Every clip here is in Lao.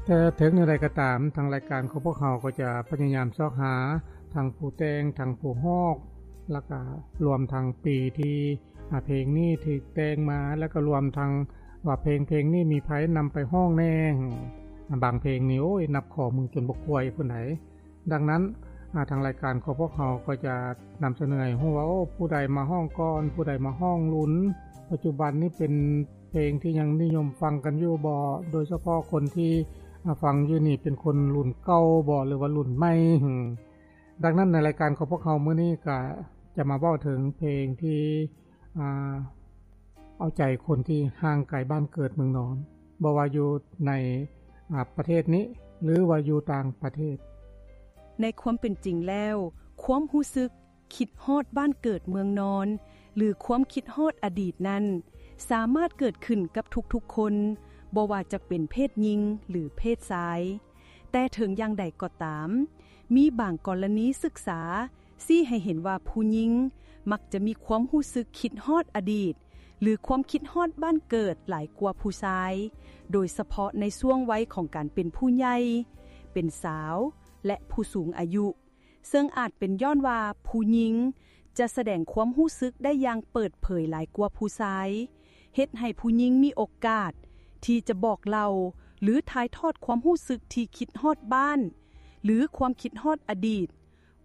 ແຕ່ເຖິງແນວໃດກໍຕາມ ທາງລາຍການຂອງພວກເຮົາກໍຈະພະຍາຍາມຊອກຫາທັງຜູ້ແຕ່ງ ທັງຜູ້ຮ້ອງ ແລ້ວກໍລວມທັງປີທີ່ ອາ ເພງນີ້ຖືກແຕ່ງມາ ແລ້ວກໍລວມທັງວ່າເພງ ເພງນີ້ມີໃຜນຳໄປຮ້ອງແດ່. ອາ ບາງເພງນີ້ ໂອ້ຍ ນັບຂໍ້ມືຈົນບໍ່ຄ່ວຍພຸ້ນໃດ໋. ດັ່ງນັ້ນ ອາ ທາງລາຍການຂອງພວກເຮົາກໍຈະນຳສະເໜີໃຫ້ຮູ້ວ່າ ໂອ້ ຜູ້ໃດມາຮ້ອງກ່ອນ ຜູ້ໃດມາຮ້ອງລຸນ ປັດຈຸບັນນີ້ເປັນເພງທີ່ຍັງນິຍົມຟັງກັນຢູ່ບໍ່ ໂດຍສະເພາະຄົນທີ່ ອາ ຟັງຢູ່ນີ້ເປັນຄົນລຸ້ນເກົ່າບໍ່ ຫຼືວ່າລຸ້ນໃໝ່. ດັ່ງນັ້ນໃນລາຍການຂອງພວກເຮົາມື້ນີ້ກໍຈະມາເວົ້າເຖິງເພງທີ່ ອາ ເອົາໃຈຄົນທີ່ຫ່າງໄກບ້ານເກີດເມືອງນອນ ບໍ່ວ່າຢູ່ໃນ ອາ ປະເທດນີ້ ຫຼືວ່າຢູ່ຕ່າງປະເທດ. ໃນຄວາມເປັນຈິງແລ້ວ ຄວາມຮູ້ສຶກຄິດຮອດບ້ານເກີດເມືອງນອນ ຫຼື ຄວາມຄິດຮອດອະດີດນັ້ນ ສາມາດເກີດຂຶ້ນກັບທຸກໆຄົນ ບໍ່ວ່າຈະເປັນເພດຍິງ ຫຼື ເພດຊາຍ. ແຕ່ເຖິງຢ່າງໃດກໍຕາມ, ມີບາງກໍລະນີສຶກສາຊີ້ໃຫ້ເຫັນວ່າຜູ້ຍິງມັກຈະມີຄວາມຮູ້ສຶກຄິດຮອດອະດີດ ຫຼື ຄວາມຄິດຮອດບ້ານເກີດຫຼາຍກວ່າຜູ້ຊາຍ, ໂດຍສະເພາະໃນຊ່ວງໄວຂອງການເປັນຜູ້ໃຫຍ່, ເປັນສາວ ແລະ ຜູ້ສູງອາຍຸ, ເຊິ່ງອາດເປັນຍ້ອນວ່າຜູ້ຍິງຈະສະແດງຄວາມຮູ້ສຶກໄດ້ຢ່າງເປີດເຜີຍຫຼາຍກວ່າຜູ້ຊາຍ, ເຮັດໃຫ້ຜູ້ຍິງມີໂອກາດທີ່ຈະບອກເລົ່າ ຫຼື ຖ່າຍທອດຄວາມຮູ້ສຶກທີ່ຄິດຮອດບ້ານ ຫຼື ຄວາມຄິດຮອດອະດີດ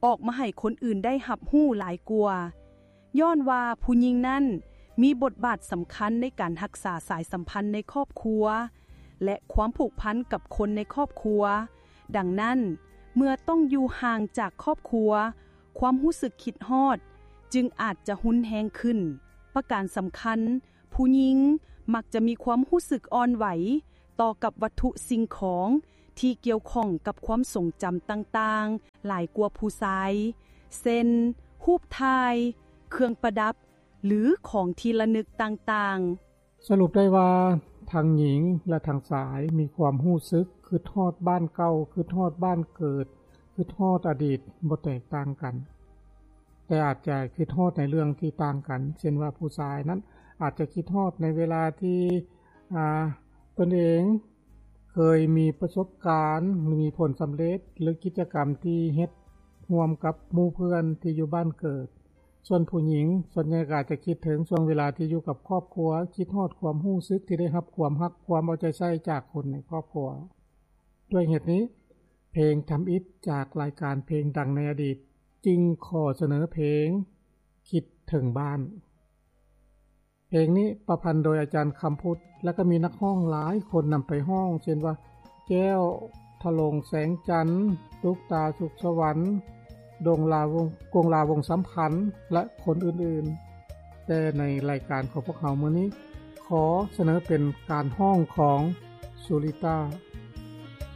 ອອກມາໃຫ້ຄົນອື່ນໄດ້ຮັບຮູ້ຫຼາຍກວ່າ, ຍ້ອນວ່າຜູ້ຍິງນັ້ນມີບົດບາດສຳຄັນໃນການຮັກສາສາຍສຳພັນໃນຄອບຄົວ ແລະ ຄວາມຜູກພັນກັບຄົນໃນຄອບຄົວ. ດັ່ງນັ້ນ, ເມື່ອຕ້ອງຢູ່ຫ່າງຈາກຄອບຄົວ, ຄວາມຮູ້ສຶກຄິດຮອດຈຶ່ງອາດຈະຮຸນແຮງຂຶ້ນ. ປະການສຳຄັນ, ຜູ້ຍິງມັກຈະມີຄວາມຮູ້ສຶກອ່ອນໄຫວຕໍ່ກັບວັດຖຸສິ່ງຂອງທີ່ກ່ຽວຂ້ອງກັບຄວາມຊົງຈຳຕ່າງໆຫຼາຍກວ່າຜູ້ຊາຍ, ເຊັ່ນ ຮູບຖ່າຍ, ເຄື່ອງປະດັບ ຫຼື ຂອງທີ່ລະນຶກຕ່າງໆ. ສະຫຼຸບໄດ້ວ່າ ທັງຍິງ ແລະ ທັງຊາຍມີຄວາມຮູ້ສຶກຄິດຮອດບ້ານເກົ່າ, ຄິດຮອດບ້ານເກີດ, ຄິດຮອດອະດີດບໍ່ແຕກຕ່າງກັນ, ແຕ່ອາດຈະຄິດຮອດໃນເລື່ອງທີ່ຕ່າງກັນ, ເຊັ່ນວ່າ ຜູ້ຊາຍນັ້ນອາດຈະຄິດຮອດໃນເວລາທີ່ ອາ ຕົນເອງເຄີຍມີປະສົບການ ຫຼື ມີຜົນສຳເລັດ ຫຼື ກິດຈະກຳທີ່ເຮັດຮ່ວມກັບໝູ່ເພື່ອນທີ່ຢູ່ບ້ານເກີດ. ສ່ວນຜູ້ຍິງສ່ວນໃຫຍ່ກໍອາດຈະຄິດເຖິງຊ່ວງເວລາທີ່ຢູ່ກັບຄອບຄົວ, ຄິດຮອດຄວາມຮູ້ສຶກທີ່ໄດ້ຮັບຄວາມຮັກ, ຄວາມເອົາໃຈໃສ່ຈາກຄົນໃນຄອບຄົວ. ດ້ວຍເຫດນີ້, ເພງທຳອິດຈາກລາຍການເພງດັງໃນອະດີດ ຈຶ່ງຂໍສະເໜີເພງຄິດເຖິງບ້ານ. ເພງນີ້ປະພັນໂດຍອາຈານຄຳພຸດ ແລະ ກໍມີນັກຮ້ອງຫຼາຍຄົນນຳໄປຮ້ອງ ເຊັ່ນວ່າ ແກ້ວ ທະໂລງແສງຈັນ, ຕຸກຕາ ສຸກສະຫວັນ, ດົງລາ ວົງ ກົງລາ ວົງສຳພັນ ແລະ ຄົນອື່ນໆ. ແຕ່ໃນລາຍການຂອງພວກເຮົາມື້ນີ້ ຂໍສະເໜີເປັນການຮ້ອງຂອງ ສຸລິຕາ.